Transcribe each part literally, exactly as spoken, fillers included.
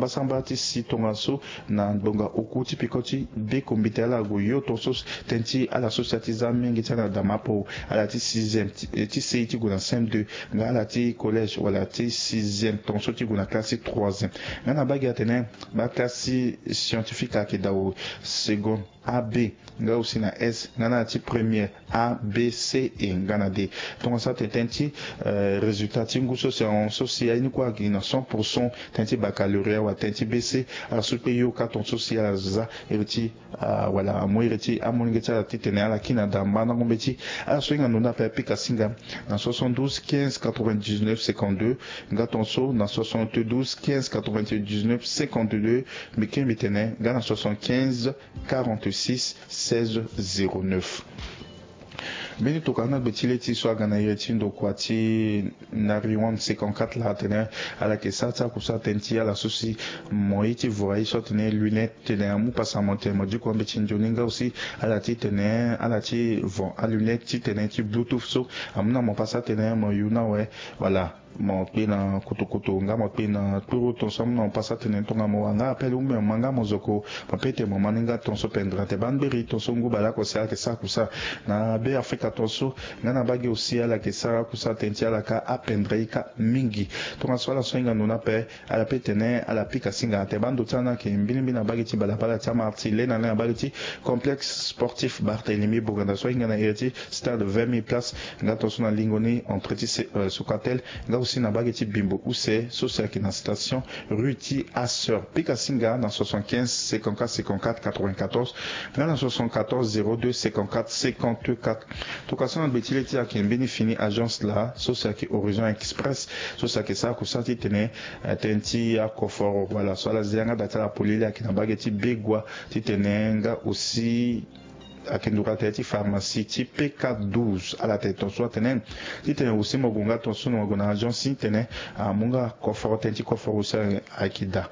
Mbasamba ti si tongaso na ngbonga oku ti peko ti be kombite ala gue yo tongaso tënë ti ala so si a ti za mingi ti ala na dama apo, ala ti sixième ti, eh, ti sei ti gue na cm deux, nga ala ti collège wala ti sixième tongaso ti gue na classe ti troisième. Nga na bage atene ba classe scientifique ayeke daa o, seconde A B, nga aussi na S, nga na ti première A B C E nga na D. Tongaso atene tënë ti, eh, résultat ti ngu so si ahon so si aye ni kue agi na cent pour cent tënë ti baccalauréat wala tënë ti B C. Ala so kpe yo ka tongaso si ala za iri ti, ah, wala amu iri ti amolenge ti ala titene ala kiri na damba na ngombe ti ala so hinga ndo ni ape apika singa na soixante-douze quinze quatre-vingt-dix-neuf cinquante-deux, nga tongaso na soixante-douze quinze quatre-vingt-dix-neuf cinquante-deux, mbi kiri mbi tene nga na soixante-quinze quarante-six seize zéro neuf. Mbeni tokua na gbe ti le ti so aga na iri ti ndokua ti Nariwan cinquante-quatre laa atene ala yeke sara ti akusa tënë ti ala so si mo ye ti vo aye so atene lunette, tene amu pasa mo tene mo diko ambeti nzoni nga aussi ala ti tene ala ti vo alunette ti tene ti bluetooth so amu na mo pasa tene mo yu na awe. Voilà. Mo kpe na kutukutu nga mo kpe na kpuru tongaso amu na mo pasa tene tongana mo wara nga appel ou bien mo ma nga mo zoko, mo peut ti mo ma ni nga tongaso pendere ate bangberi tongaso ngu baleoko si ala yeke sara kusa. Na be Afrika tongaso nga na bage aussi ala yeke sara kusa tënë ti ala ka apendere ye ka mingi. Tongaso ala so ahinga ndo ni ape ala peut tene ala pika singa ate bando ti ala ni ayeke mbilimbili na bage ti balabala ti amarti le na le na bage ti complexe sportif Barthélemy Boganda so ahinga na iri ti stade vingt mille places, nga tongaso na lingo ni entrée ti se, euh, Socatel, nga aussi na bage ti bimbo use so si ayeke na station rue ti Asseur. Pika singa na soixante-quinze cinquante-quatre cinquante-quatre quatre-vingt-quatorze, nga na soixante-quatorze zéro deux cinquante-quatre cinquante-quatre. Tokua so na gbe ti le ti ayeke mbeni fini agence laa so si ayeke Horizon Express so si ayeke sara kusa titene, eh, tënë ti akoforo, voilà, so ala zi yanga da ti ala polele ayeke na bage ti Begua titene nga aussi ayeke nduru atene ti pharmacie ti P K douze. Ala tene tongaso atene titene aussi mo gue nga tongaso na mo gue na agence titene amu nga koforo tënë ti koforo aussi ayeke daa.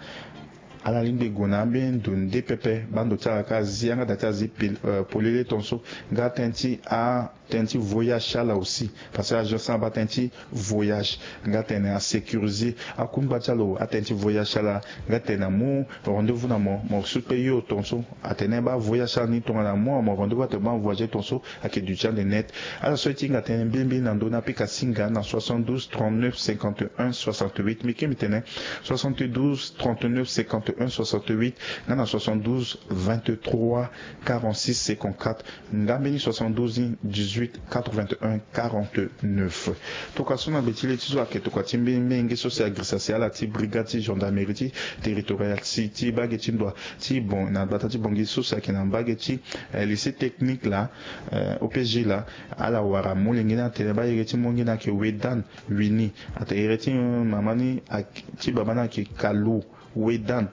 Ala lingbi gue na ambeni ndo nde pepe bando ti ala ka zi yanga da ti azi pil, euh, polele tongaso nga tënë ti a tënë ti voyage ti ala aussi. Parce que agence ni abaa tënë ti voyage nga tene asécuriser akungba ti ala atënë ti voyage ti ala. Nga tene amu rendez-vous na mo, mo su kpe yo tongaso atene baa voyage ti ala ni tongana amu na mo rendez-vous atene baa voyager tongaso ayeke duti ande net. Ala so aye ti hinga tënë mbilimbili na ndö ni apika singa na soixante-douze trente-neuf cinquante-un soixante-huit. Mbi kiri mbi tene soixante-douze trente-neuf cinquante-un soixante-huit nga na soixante-douze vingt-trois quarante-six cinquante-quatre. Nga mbeni soixante-douze dix-huit quatre-vingt-un quarante-neuf. Tokua so na gbe ti le ti so ayeke tokua ti mbeni menge so si agirisa si ala ti brigade ti gendarmerie ti territoriale si ti bage ti ndoa ti bon na gbata ti Bangui so si ayeke na mbage ti, eh, lycée technique laa, eh, O P G laa. Ala wara molenge ni atene baa iri ti molenge ni ayeke Wedan Wini. Atene iri ti, eh, mama ni ayeke, ti baba ni ayeke Kalu Wedan.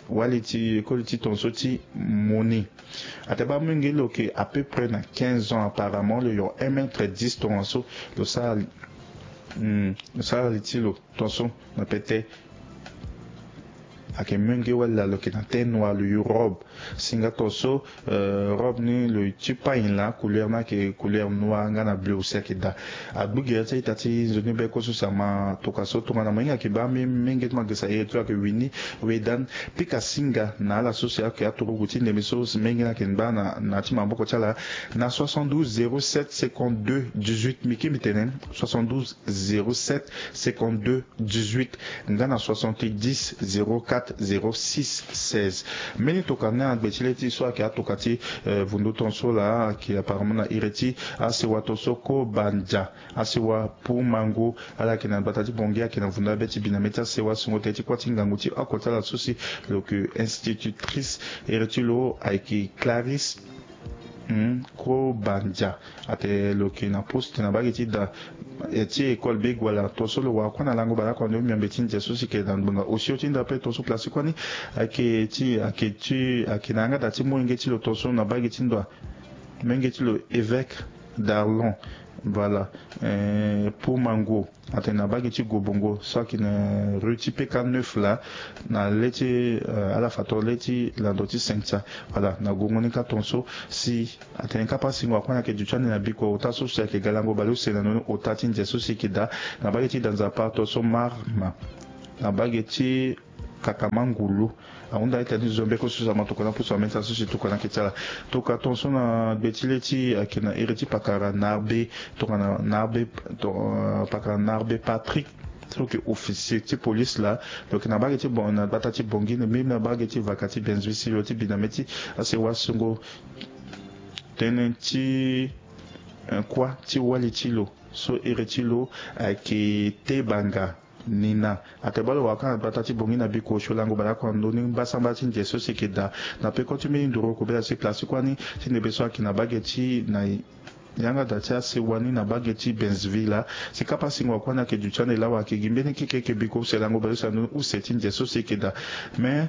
Wali ti école ti tongaso ti Moni. Atene baa molenge lo yeke à peu près na quinze ans apparemment, lo yoro un mètre dix tongaso. Lo sara, hmm, lo sara li ti lo tongaso na pete. Ayeke molenge wali laa lo yeke na teint noir, lo yu robe. Si nga tongaso, euh, robe ni lo ti pagne laa couleur ni ayeke couleur noir nga na bleu aussi ayeke daa. Agbu gere ti a-ita ti nzoni be kue so si ama tokua so tongana mo hinga ayeke baa mbi menge ti mo agirisa iri ti lo ayeke Wini Wedan. Pika singa na ala so si ayeke aturugu ti ndembe so si menge ni ayeke baa na, na ya ti maboko ti ala na soixante-douze zéro sept cinquante-deux dix-huit. Mbi kiri mbi tene soixante-douze zéro sept cinquante-deux dix-huit nga na soixante-dix zéro quatre zéro six seize. Mbeni tokua ni agbe ti le ti so ayeke atokua ti, eh, vundu tongaso laa ayeke apparemment na iri ti asewa tongaso Kobandia. Asewa Pumango, ala yeke na gbata ti Bangui, ayeke na vundu abe ti bi na mê ti asewa sungo tënë ti kuâ ti ngangu ti oko ti ala so si lo yeke institutrice, iri ti lo ayeke Clarisse, hmm, Kobandia. Atene lo yeke na poste na bage ti da, eh, ti école Begoala. Tongaso lo wara kuâ na lango baleoko ande omiombe ti nze so si yeke na ngbonga osio ti nda ape. Tongaso place ti kuâ ni ayeke ti, ayeke ti, ayeke na yanga da ti molenge ti lo tongaso na bage ti ndoa. Molenge ti lo évêque d'Arlon. Voilà. Eh, Pumango. Atene na bage ti Gobongo so ayeke na rue ti P K neuf laa, na le ti, eh, ala fa tongana le ti lando ti Cynthia. Voilà, na gongo ni ka tongaso si atene kapa singo akuâ ni ayeke duti ande na bikua ota so si ayeke ga lango baleuse na ndoni ota ti nze so si yeke daa na bage ti da Nzapa tongaso Marma. Na bage ti kakama ngulu. Ahunda ita ni zo mbeko so si ama tokua na pusu ameta so si tokua na yeke ti ala. Tokua tonso na gbe ti le ti ayeke na iri ti pakara na arbe. Tokua na na arbe. Pakara na arbe patrick, so yeke officier ti police laa. Lo yeke na bage ti bon na gbata ti bongi ni même na bage ti vaka ti benzui si lo ti bi na mê ti asewa songo. Tënë ti kua ti wali ti lo so iri ti lo ayeke te banga. Nina ate baa lo waka na gbata ti bongi na biko osio lango baleoko na ndoni mbasambala ti nze so si eke daa. Na peko ti mbeni nduru kobela si place ti kuani ti ndembe so ayeke na bage ti na yanga daa ti asewa ni na bage ti benzeville laa. Si kapa singo akuani ayeke duti ande lawa ayeke gi mbeni keke eke biko use lango baleuse na ndoni use ti nze so si eke daa. Mais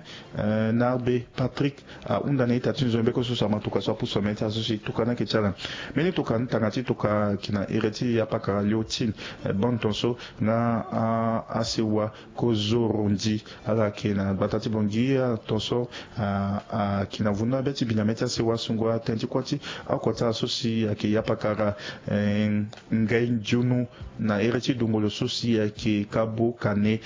na arbe patrick ahunda na ita ti nzoni mbeko so si ama tokua so apusu amene ti ala so si tokua ni ayeke ti ala. Mbeni tokua ni tanga ti tokua ayeke na iri ti apakara léotine. Bande tonso na asewa kozorondi. Ala yeke na gbata ti bongi tonso ayeke na vundu abe ti bi na mê ti asewa songo atene ti kuâ ti oko ti ala so si ayeke yapakara ngai nzunu na iri ti dungolo so si ayeke kabo kane.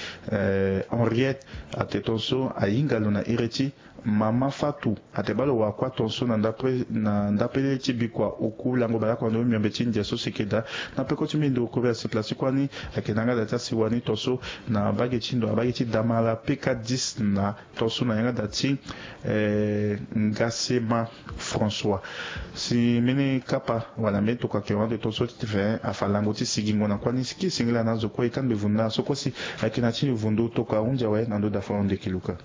Henriette ate tonso ahinga lo na iri ti mama fatu. Ate baa lo wara kuâ tonso na ndapele na ndapele ti bikua oku lango baleoko na ndö miombe ti ndia so si eke daa. Na peko ti mbi ndo kobela si place ti kuâ ni ayeke na yanga daa ti asewa ni tonso na bage ti ndo na bage ti damala peka dix na tonso na yanga daa ti ngasema françois. Si mbeni kapa wala mbeni tokua ayeke wande tonso ti te fe afa lango ti sigingo na kuâ ni si ki singila na azo kue e kangbi vundu na ala so kue si ayeke na ti ni vundu tokua ahunzi awe na ndö daa fo ahunzi eke luka.